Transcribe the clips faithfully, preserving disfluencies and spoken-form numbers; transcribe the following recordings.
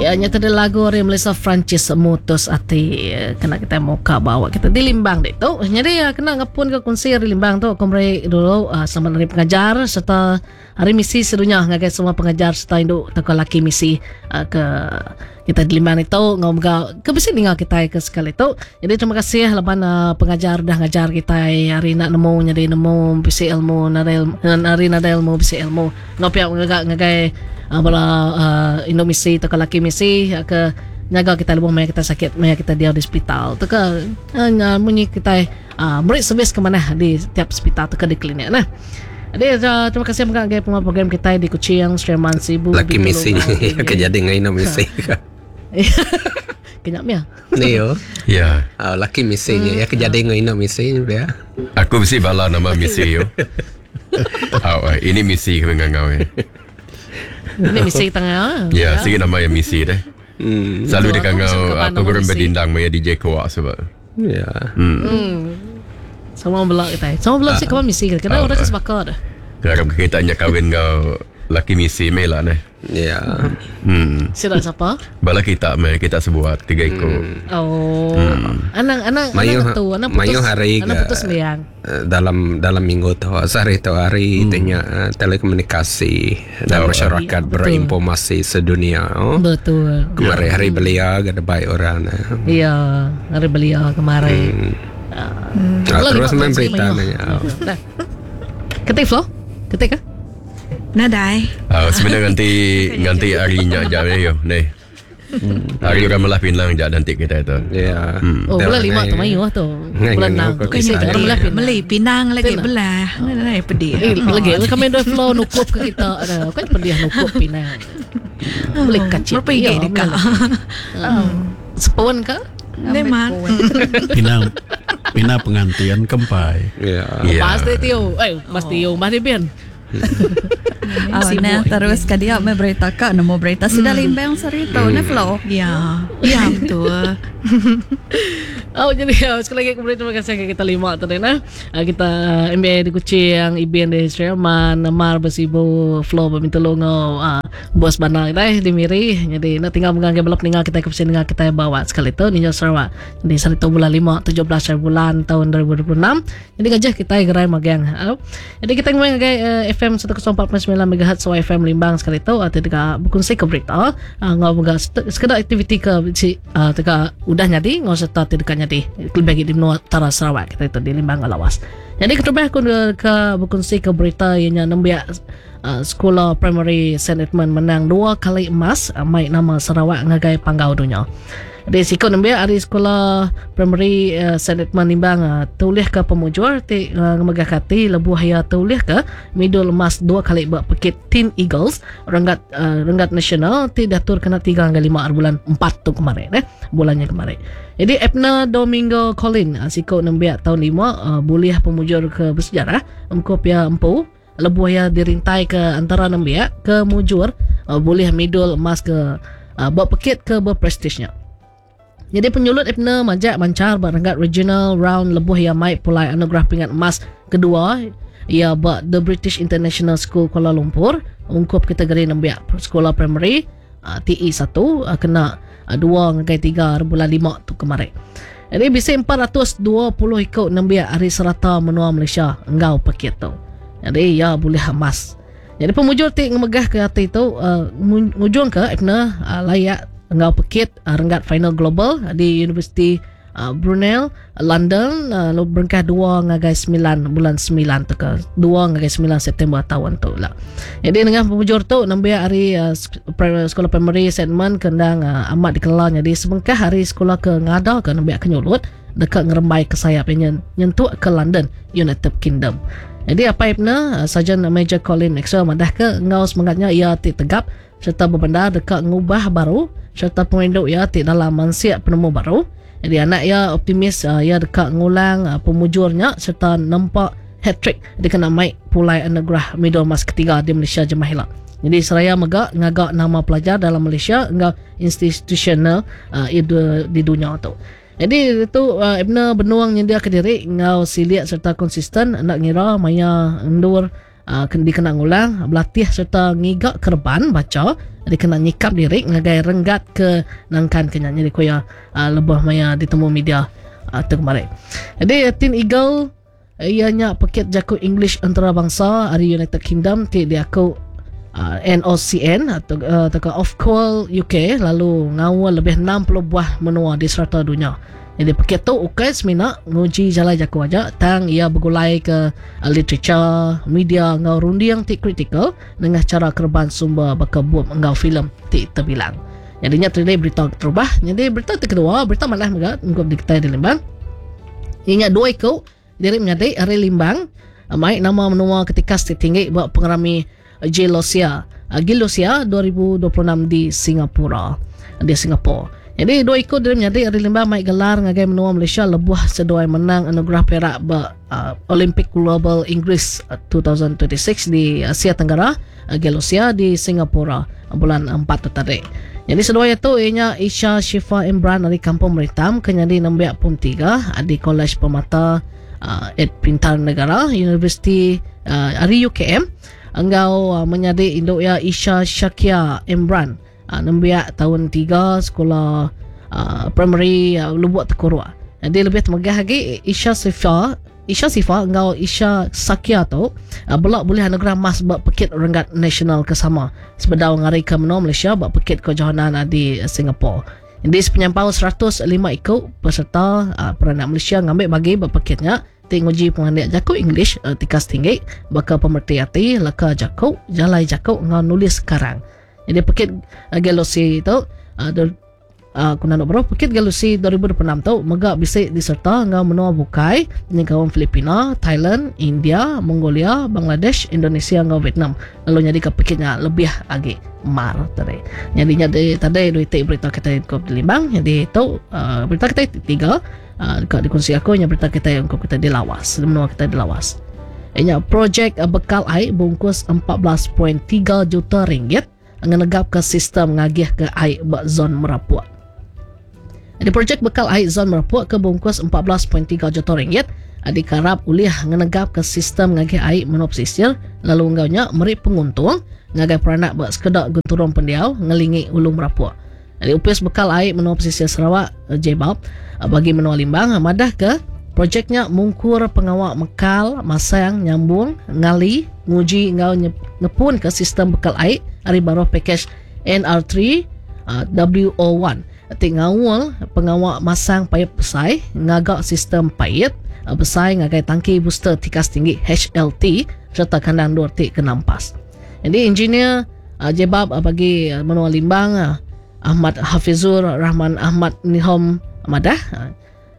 Ya, nyata ada lagu dari Melissa Francis Mutus Ati kena kita muka bawa kita di Limbang dek tu. Jadi ya, kena ngepun ke kunsi dari Limbang tu aku beri dulu uh, selamat hari pengajar serta hari misi sedunia ngagai semua pengajar serta induk toko laki misi uh, ke kita di Limbang itu ngau mega ke bisi ninga kita ke sekali tu. Jadi terima kasih laban uh, pengajar dah ngajar kita hari nak nemu jadi nemu bisi ilmu nadai hari nadai ilmu bisi ilmu. Ngau pihak ngagai ngagai uh, bala uh, induk misi toko laki misi uh, ke nyaga kita lebuh maya kita sakit maya kita dia di hospital tu ke uh, munyi kita uh, beri servis ke mana di tiap hospital tu ke di klinik nah. Jadi uh, terima kasih mega ngagai pengawa program kita di Kuching, Sri Aman, Sibu, Laki misi ke jadi ngai no misi. Kenyak mia. Ni yo. Ya. Uh, laki misi nya ya ke jadi ngai no misi dia. Aku mesti bala nama misi yo. Oh, ini misi kami ngangau ya. Ini misi tengah. Ya, sigi nama yang misi deh. Hmm. Selalu dia Betul, aku ngangau suka uh, nama program misi. berdindang maya D J Kuak sebab. Ya. Hmm. Hmm. Sama belak kita. Sama belak sih kawan misi kena Ah. orang kesebakar dah. Kalau kita nya kahwin ngau laki misi mela neh. Ya. Hmm. Sila siapa? Bala kita meh kita sebuat tiga ekor. Oh. Anang anang Mayu anang tu, anang putus. mayu hari anang ke, putus sembiang. eh, dalam dalam minggu tu sehari tu hari hmm. telekomunikasi dan Oh, masyarakat Ya, betul. berinformasi sedunia. Oh. Betul. Kemarin hari belia ke baik orang. eh. Ya, hari belia kemarin. Hmm. Ah, terus main berita nanya. Dah. Ketik Flo? Ketik ah? Nadai. Ah, sebenarnya nanti nanti harinya jap ni yo ni. Hari orang melah pinang jap nanti kita itu. Ya. Oh, bulan lima tu mayu lah tu. Ngai, Bulan ngai, enam. ngai, Kau isi ngai, orang belah pinang. Beli pinang lagi Betul. belah. Nadai pedih. Eh, lagi kami dah flow nukup ke kita ada. Kan pedih nukup pinang. Beli kacip. Berapa gig Ya, dekat? Sepon ke? Memang. Pinang Pinang pengantian kempai. Ya. Ya. Pasti tio. Eh, pasti tio mah dia ben. Oh, nah, terus ke dia me berita kak nemu berita sudah limbang seri tu nah Flo. Ya. Ya betul. Oh, jadi ya, sekali lagi kemudian terima kasih ke kita lima tadi nah. Ah, kita M B A di Kuching, I B N di Sri Aman, Mar Besibu, Flo Bintulungo, uh, bos Banal kita di Miri. Jadi nak tinggal menganggap belop tinggal kita ke sini tinggal kita bawa sekali tu Ninja Sarawak. Jadi seri tu bulan lima, tujuh belas hari bulan tahun dua ribu dua puluh enam. Jadi gajah kita gerai magang. Oh. Jadi kita ngomong ngagai uh, F M seratus empat perpuluhan sembilan megahertz Y F M Limbang sekali tu atau dekat berkongsi ke berita, uh, ngau menga sekedar aktiviti ke si uh, dekat udah nyadi ngau serta dekat nyadi lebih di menua utara Sarawak kita itu di Limbang Lawas. Jadi ketubah aku ke, ke berkongsi ke berita ianya nembiak uh, sekolah primary Saint Edmund menang dua kali emas uh, mai nama Sarawak ngagai panggau dunia. Di sikut nembiak hari sekolah primary uh, Saint Edmund Limbang uh, tulis ke pemujur ti uh, ngemegah kati lebuh ya tulis ke medal emas dua kali buat pekit Teen Eagles renggat uh, renggat nasional ti datur kena tiga hingga lima bulan empat tu kemarin eh bulannya kemarin. Jadi Ebna Domingo Colin uh, sikut nembiak tahun lima uh, boleh pemujur ke bersejarah emkop ya empu lebuh ya dirintai ke antara nembiak ke mujur uh, boleh medal emas ke uh, buat pekit ke berprestisnya. Jadi penyulut Ebna majak mancar berangkat regional round lebuh ya mai pulai anugerah pingat emas kedua ya buat The British International School Kuala Lumpur ungkup kategori nembiak sekolah primary uh, T E satu uh, kena uh, dua ngagai tiga bulan lima tu kemarin. Jadi bisa empat ratus dua puluh ikut nembiak hari serata menua Malaysia enggau paket tu. Jadi ya boleh emas. Jadi pemujur ti ngemegah ke hati tu uh, ngujung ke Ebna uh, layak enggau pekit uh, renggat final global uh, di Universiti uh, Brunel London uh, lalu berengkah dua ngagai sembilan bulan sembilan tu ke dua ngagai sembilan September tahun tu lah. Jadi dengan pemujur tu nembiak hari uh, sekolah primary Saint Edmund kendang uh, amat dikelola jadi sebengkah hari sekolah ke ngada ke nembiak ke nyulut dekat ngerembai ke sayap yang nyentuk ke London United Kingdom. Jadi apa ibna Sarjan Major Colin Maxwell madah ke ngau semangatnya ia ti tegap serta berbenda dekat ngubah baru serta penginduk ia ti dalam mansiak penemu baru. Jadi anak ia optimis uh, ia dekat ngulang uh, pemujurnya serta nampak hat-trick dia kena maik pulai anugerah medal emas ketiga di Malaysia jemah. Jadi seraya megak ngagak nama pelajar dalam Malaysia enggau institusional uh, di dunia tu. Jadi itu uh, Ebna benuang nyendia ke diri ngau siliak serta konsisten nak ngira maya endur uh, dikena ngulang berlatih serta ngiga kerban baca dikena nyikap diri ngagai renggat ke nangkan ke nyanyi di kuya uh, lebih maya ditemu media uh, tu kemarin. Jadi Teen Eagle ianya paket jaku English antarabangsa dari United Kingdom ti diaku uh, N O C N atau uh, atau Ofqual U K lalu ngawal lebih enam puluh buah menua di serata dunia. Jadi paket tu ukai semina nguji jalan jaku aja tang ia bergulai ke uh, literature, media ngau runding ti kritikal dengan cara kerban sumber baka bup ngau filem ti terbilang. Jadinya tadi berita terubah. Jadi berita kedua, berita malah juga ngop di kita di Limbang. Ingat dua ikut diri menjadi hari Limbang mai nama menua ketika tinggi buat pengerami Gelosia Gelosia dua ribu dua puluh enam di Singapura di Singapura. Jadi dua ikut diri menjadi hari Limbang mai gelar ngagai menua Malaysia lebuh seduai menang anugerah perak ba uh, Olympic Global English dua ribu dua puluh enam di Asia Tenggara Gelosia di Singapura bulan empat tu tadi. Jadi seduai itu ianya Isha Shifa Imran dari Kampung Meritam kenyadi nembiak pum tiga di Kolej Permata Uh, Ed Pintar Negara Universiti uh, Ari U K M enggau uh, menyadi induk ya Isha Shakia Imran uh, nembiak tahun tiga sekolah uh, primary uh, Lubuk Tekuruk. Jadi lebih temegah lagi Isha Sifa Isha Sifa enggau Isha Sakia tu uh, belak boleh anugerah emas bak pekit renggat nasional ke sama sebedau ngari ke menua Malaysia bak pekit kejohanan di Singapura. Jadi sepenyampau seratus lima ikut peserta uh, peranak Malaysia ngambil bagi berpekitnya ti nguji pengandik jaku English uh, tikas tinggi bakal pemerti hati leka jaku jalai jaku ngau nulis sekarang. Jadi pekit uh, Gelosi tu uh, uh, kuna nak bro pekit Gelosi dua ribu dua puluh enam tu mega bisa diserta ngau menua bukai nyengkaum Filipina, Thailand, India, Mongolia, Bangladesh, Indonesia ngau Vietnam. Lalu jadi ke pekitnya lebih lagi mar tadi. Jadinya di tadi dua itik berita kita ke Limbang. Jadi tu uh, berita kita tiga uh, dekat dikongsi aku nya berita kita yang kita di Lawas, menua kita di Lawas. Inya projek uh, bekal air bungkus empat belas perpuluhan tiga juta ringgit ngenegap ke sistem ngagih ke air bak zon Merapuk. Jadi projek bekal air zon Merapuk ke bungkus empat belas perpuluhan tiga juta ringgit dikarap ulih ngenegap ke sistem ngagih air menua pesisir lalu enggaunya meri penguntung ngagai peranak bak sekedak genturung pendiau ngelingi Ulu Merapuk. Jadi upis bekal air menua pesisir Sarawak J B A P bagi menua Limbang madah ke projeknya mungkur pengawak mekal masang nyambung ngali nguji ngau ngepun ke sistem bekal air ari baruh package N R tiga W O satu. Ti ngawal pengawak masang paip besai ngagak sistem paip besai ngagai tangki booster tikas tinggi H L T serta kandang dua T kenampas. Jadi engineer uh, Jebab uh, bagi uh, menua Limbang uh, Ahmad Hafizur Rahman Ahmad Nihom Madah uh,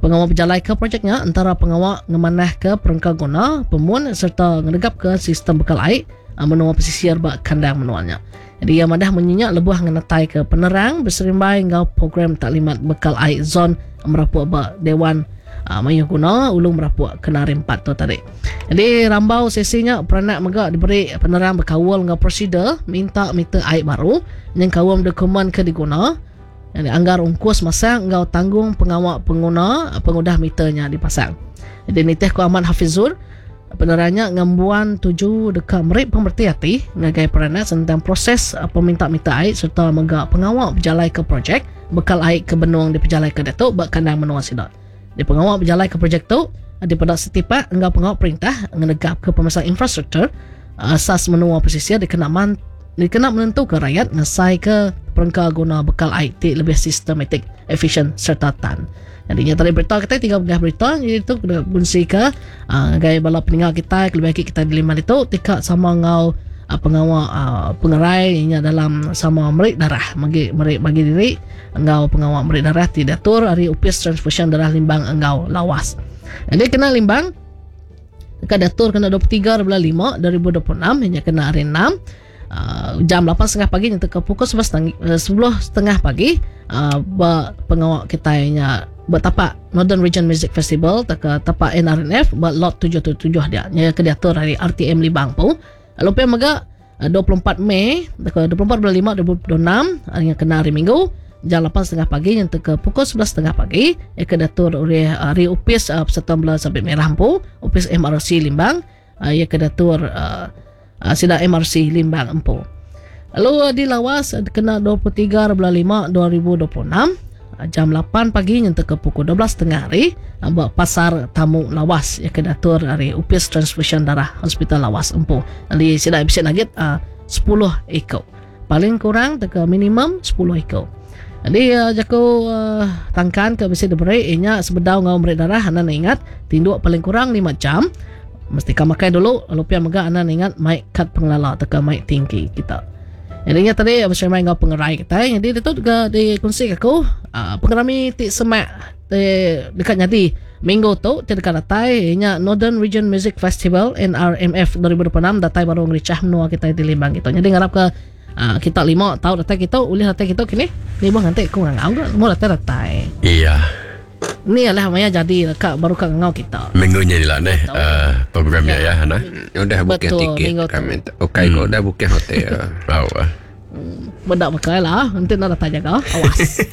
pengawal berjalai ke projeknya antara pengawal ngemanah ke perengka guna pemun serta ngedegap ke sistem bekal air uh, menua pesisir bak kandang menuanya. Jadi ia madah menyinyak lebuh ngenetai ke penerang berserimbai ngau program taklimat bekal air zon Merapuk bak Dewan Uh, Mayuh Guna Ulu Merapuk kena empat tu tadi. Jadi rambau sesinya peranak mega diberi penerang berkawal dengan prosedur minta meter air baru yang kawam dokumen ke diguna yang dianggar ungkus masang ngau tanggung pengawal pengguna pengudah meternya dipasang. Jadi nitih ku Ahmad Hafizur penerangnya ngembuan tuju dekat merik pemerti hati ngagai peranak tentang proses peminta meter air serta mega pengawal berjalai ke projek bekal air ke benung di pejalai ke Datuk bak kandang menua sidak. Di pengawal berjalai ke projek tu di pada setipak enggau pengawal perintah ngenegap ke pemasang infrastruktur asas menua pesisir dikena man, dikena menentukan rakyat ngesai ke perengka guna bekal I T lebih sistematik, efisien serta tan. Jadinya tadi berita kita tiga belas berita jadi tu kena gungsi ke uh, gaya bala peninggal kita lebih baik kita di lima itu tika sama ngau uh, pengawal uh, pengerai inya dalam sama merik darah bagi merik bagi diri engau pengawal merik darah tidak tur hari upis transfusion darah Limbang engau Lawas. Jadi kena Limbang dekat datur kena dua puluh tiga bulan lima dua ribu dua puluh enam hanya kena hari enam uh, jam lapan tiga puluh pagi nyentuh ke pukul sepuluh tiga puluh pagi uh, pengawal kita nya bertapak Northern Region Music Festival tak tapak N R N F buat lot tujuh tujuh tujuh dia nya ke diatur hari R T M Limbang pu. Lalu pe mega dua puluh empat Mei dua puluh empat bulan lima dua ribu dua puluh enam hari kena hari Minggu jam lapan tiga puluh pagi nyentuh ke pukul sebelas tiga puluh pagi ia ke diatur oleh hari upis uh, Persatuan Bola Sabit Merah pu upis M R C Limbang uh, ia ke diatur uh, uh, sida M R C Limbang Empu. Lalu di Lawas kena dua puluh tiga bulan lima dua ribu dua puluh enam jam lapan pagi nyentuk ke pukul dua belas tengah hari buat pasar tamu Lawas yang kena atur hari Upis Transfusion Darah Hospital Lawas Empu. Jadi sida bisa nagit uh, sepuluh ekor. Paling kurang teka minimum sepuluh ekor. Jadi uh, jaku uh, tangkan ke bisa diberi inya sebedau ngau meri darah anda ingat tinduk paling kurang lima jam. Mesti ka makai dulu lalu pia mega anda ingat mic kad pengelala teka mic tinggi kita. Jadi ingat tadi bersama dengan pengerai kita. Jadi itu juga dikongsi aku uh, pengerami ti semak di dekat nyadi minggu tu ti dekat datai inya Northern Region Music Festival N R M F dua ribu dua puluh enam datai baru ngericah menua kita di Limbang gitu. Jadi ngarap ke uh, kita lima tahu datai kita ulih datai kita kini ni bang nanti aku ngangau ke mau datai datai. Iya. Ni lah maya jadi dekat baru kat ngangau kita. Minggu ni lah neh uh, programnya ya, ya nah. Udah booking tiket kami. Okey kok udah booking hotel. Tahu ah. Benda pakai lah, nanti nak datang jaga. Awas.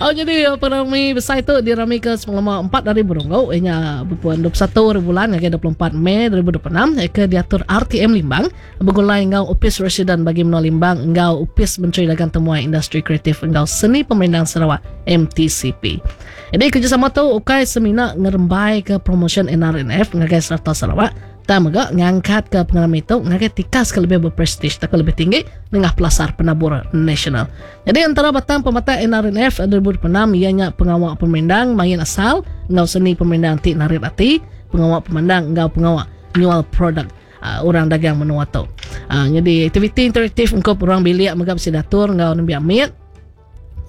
Oh jadi penrami besar itu dirami ke selama empat hari berunggu, ianya berpuan dua puluh satu hari bulan hingga dua puluh empat Mei dua ribu dua puluh enam ke diatur R T M Limbang bergulai ngau Upis Residen bagi Menua Limbang ngau Upis Menteri Dagang Temuai Industri Kreatif ngau Seni Pemerintah Sarawak M T C P. Jadi kerjasama tu ukai semina ngerembai ke promotion N R N F ngagai serata Sarawak. Tak mega ngangkat ke pengalaman itu ngagai tikas ke lebih berprestij tak lebih tinggi dengan pelasar penabur nasional. Jadi antara batang pemata N R N F dua ribu dua puluh enam ianya pengawak pemendang main asal ngau seni pemendang ti narik hati pengawak pemandang ngau pengawak nyual produk uh, orang dagang menua tu. Uh, jadi aktiviti interaktif engkau orang bilik mega mesti datur ngau nembiak mit.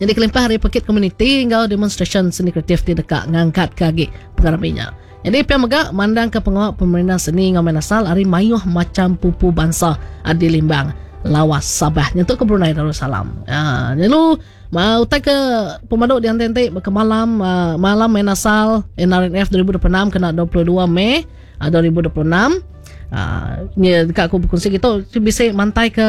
Jadi kelimpah hari paket komuniti ngau demonstration seni kreatif ti dekat ngangkat ke agi pengaraminya. Jadi pihak mega mandang ke pengawak pemerintah seni ngau main asal hari mayuh macam pupu bangsa di Limbang, Lawas, Sabah, nyentuk ke Brunei Darussalam. Ha, lalu mau tak ke pemaduk di ante-ante ke malam uh, malam main asal N R N F dua ribu dua puluh enam kena dua puluh dua Mei uh, dua ribu dua puluh enam. Uh, ni dekat aku berkongsi gitu bisa mantai ke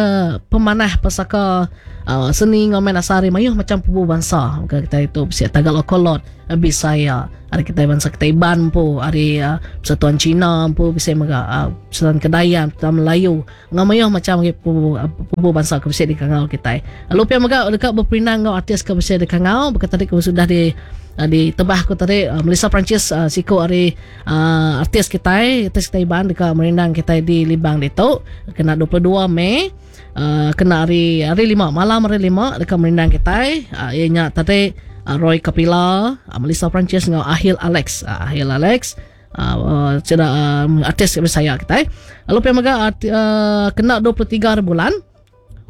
pemanah pesaka uh, seni ngomen asari mayuh macam pupu bangsa kita itu bisa Tagalog Kolot Bisaya hari kita bangsa kita Iban pu hari uh, Persatuan Cina pu bisa mega uh, Persatuan Kedayan Persatuan Melayu ngamayuh macam pupu, pupu bangsa ke bisa dikangau kita. Lalu pia mega dekat berperinang ngau artis ke bisa dikangau berkata tadi sudah di di tebah aku tadi uh, Melissa Francis uh, siko hari uh, artis kita artis kita Iban dekat merindang kita di Limbang ditu kena dua puluh dua Mei uh, kena hari hari lima malam hari lima dekat merindang kita uh, ianya tadi uh, Roy Kapila uh, Melissa Francis dengan Ahil Alex uh, Ahil Alex uh, uh, ceda, uh, artis saya kita lalu pia mega uh, kena dua puluh tiga hari bulan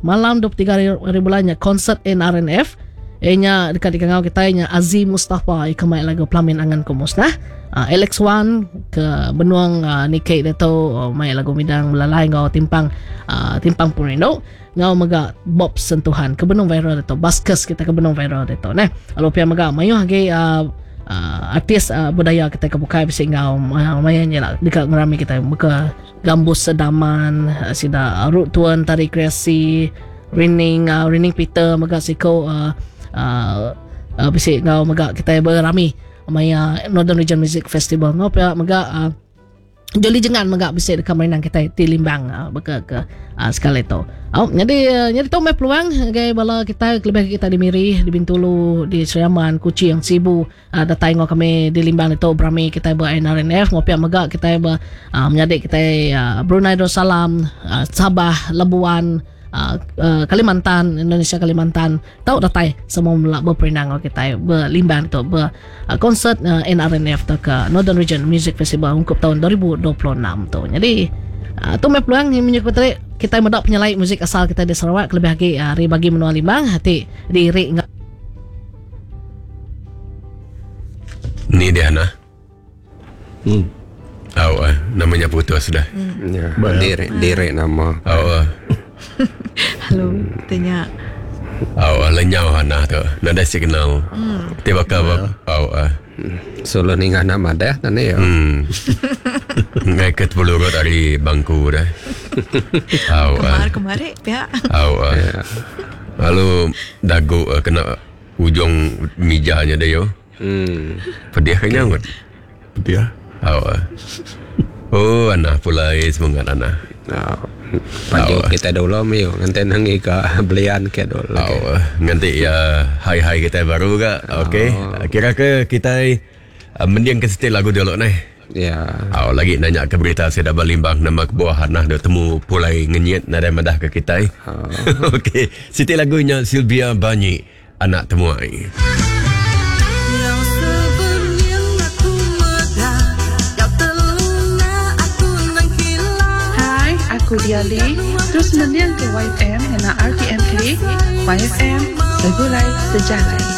malam dua puluh tiga hari, hari bulannya konsert N R N F Inya dekat di kangau kita inya Aziz Mustafa ikan main lagu Pelamin Angan Kumusnah uh, Alex Wan ke Benuang uh, Nikei Dato uh, main lagu Midang Melalai ngau timpang uh, timpang Purindo ngau mega Bob Sentuhan ke Benung viral Dato Baskes kita ke Benung viral Dato nah lalu pia mega mayuh lagi uh, uh, artis uh, budaya kita ke bukai bisi ngau uh, mayanya lah dekat ngerami kita muka Gambus Sedaman uh, sida uh, Rut Tuan Tari Kreasi Rining uh, Rining Peter mega siko uh, Uh, uh, bisi ngau mega kita berami maya Northern Region Music Festival ngau pia mega uh, Joli Jengan mega bisi dekat mainan kita di Limbang uh, beka ke uh, sekali tu. Oh, jadi uh, jadi tu mai peluang gai bala kita lebih kita di Miri, di Bintulu, di Sri Aman, Kuching, Sibu uh, datai ngau kami di Limbang itu berami kita ber N R N F ngau pia mega kita ber uh, menyadik kita uh, Brunei Darussalam, uh, Sabah, Labuan Uh, uh, Kalimantan, Indonesia Kalimantan tahu datai semua melak berperinang kita berlimbang tu ber uh, konsert uh, N R N F tu ke Northern Region Music Festival ungkup tahun dua ribu dua puluh enam tu. Jadi uh, tu mai peluang yang menyebut tadi kita mendak penyelai muzik asal kita di Sarawak lebih lagi hari bagi menua Limbang hati diri enggak. Ni dia nah. Hmm. Oh, uh, namanya putus sudah. Hmm. Ya, diri diri nama. Oh. Uh. Halo, tanya. Oh, lenyau hana tu. Nada signal. Hmm. Tiba ke oh. Uh. Solo ningah nama dah tadi ya. Hmm. Ngaikat bulu rot dari bangku dah. Oh. Kemar kemari ya. Oh. Uh. Yeah. Lalu dagu uh, kena ujung mijanya dia yo. Hmm. Pedih kan nyangut. Pedih. Oh. Uh. Oh, Ana pulai semangat Ana. Oh, paju Oh. kita dulu miu nganti nangi ke belian ke dulu. Oh, nganti ya hai-hai kita baru ga. Okey. Kira ke kita uh, mending ke setel lagu dulu neh. Ya. Oh, lagi nanya ke berita saya dah balimbang nama kebuah Hana dah temu pulai ngenyit nadai madah ke kita. Oh. Okey, siti lagunya Sylvia Banyi Anak Temuai. Hai, aku Diali. Terus mendiang ke Y F M dengan R T M K. Y F M, Segulai Sejalai.